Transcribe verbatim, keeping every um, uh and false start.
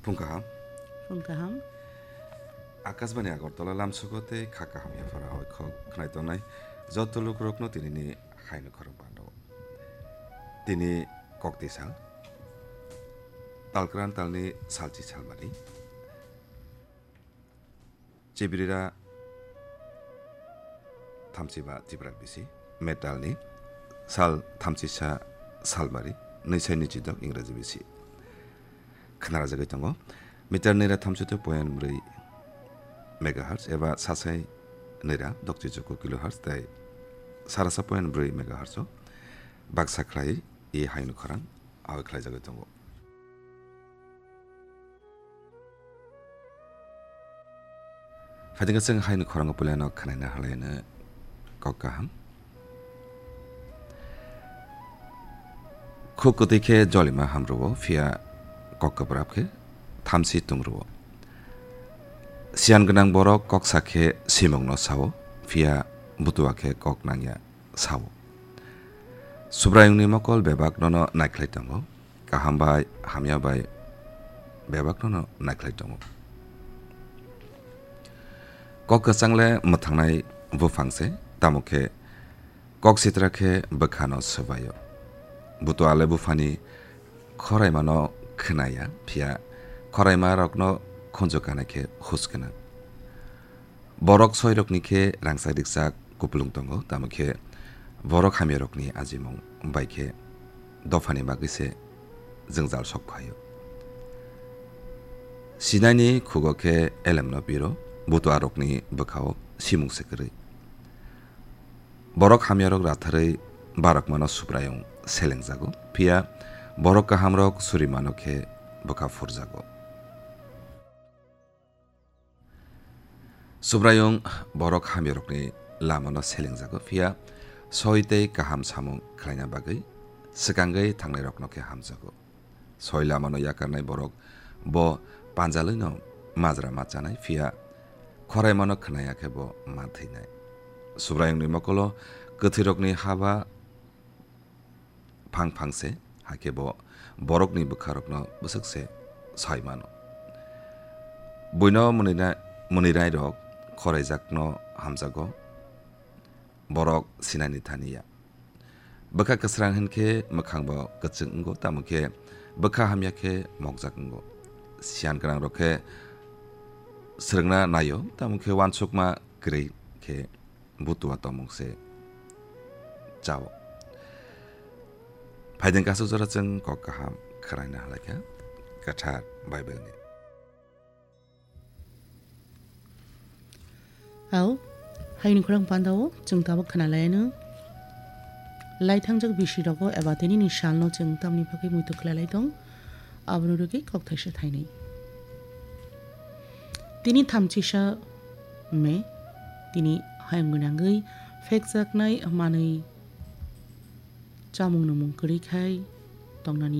Phung kaham. Phung kaham. Akashbani Agartala lamsugo tei kha kaham yaphara hoi khok khnai tongnai joto lukurokno tinini haino khorang pando. Tini kokti sal. Talkran talni salchi salmari. Chibirira thamchiba Tipra bisi, metalni sal thamchisa salmari, nwisai nwichidok Ingraji bisi. Khnarajagwi tongo. Meter nira thamchito point bwrwi megahertz eba sasai nira dokchichuku kilohertz tei sarasa point bwrwi megahertz o baksa khlai i haino khorang awai khlaijagwi tongo. Phaidingkhe chwng haini khorango puilano khwnaina halaino kok kaham. Khuk kwtwi khe jolima hamrwo, phiya kok kwprap khe thamchi tungrwo. Siyan gwnang borok kok sa khe simungno sao, phiya butua khe kok nangya sao. Subraiyungni mokol bebak nono naikhlai tongo, kaham bai hamya bai bebak nono naikhlai tongo. Kok kwchang le mwthangnai buphang se, tamo khe kok sitra khe bwkhano swbaio. Butua le buphani khoraimano khnaya, phiya khoraima rokno khunju kana khe hus gwnang. Borok soirokni khe rangchak rikchak kupulung tongo, tamo khe borok hamyarokni ajimung bai khe dophani bagwi se jwngjal sok phaio. Sinaini khugo khe elemno piro, butuarokni bwkhao simung se kwrwi. Borok hamyarok ratharwi barokmano Subraiyung selengjago, phiya borok kahamrok surimano khe bwkha phurjago. Subraiyung borok hamyarokni lamano selengjago, phiya soi tei kaham samung khlaina bagwi swkangwi thangnairokno khe hamjago. Soi lamano yakarnai borok bo panjalwino majra ma chanai, phiya khoraimano khnaya khe bo ma thwinai. Subraiyungni mokolo kwthwirokni haba phang phang se, hakhe bo borokni bwkharokno bwswk se sai mano. Buino mwnwina-, mwnwinairok khoraijakno hamjago, borok sinani thani ya. Bwkha kwsrang hin khe mwkhang bo kwchwng wngo, tamo khe bwkha hamya khe mokjak wngo. Siyan gwnangrok khe swrwngna naio, tamo khe uansukma kwrwi khe butua tongmung se chao. Phaideng kasu jora chwng kok kaham khwraina halaikha kwthar Bible ni. Ao, haini khorang pandao chwng tabuk khna laiano. Laithangjak bisi rogo eba tini ni salno chwng tamni bagwi muitu khlai lai tong, aboni rwgwi kok thaisa thainwi. Tini thamchisa me, tini hayung gwnangwi phekjaknai manwi chamung nwmung kwrwi khai tongnani.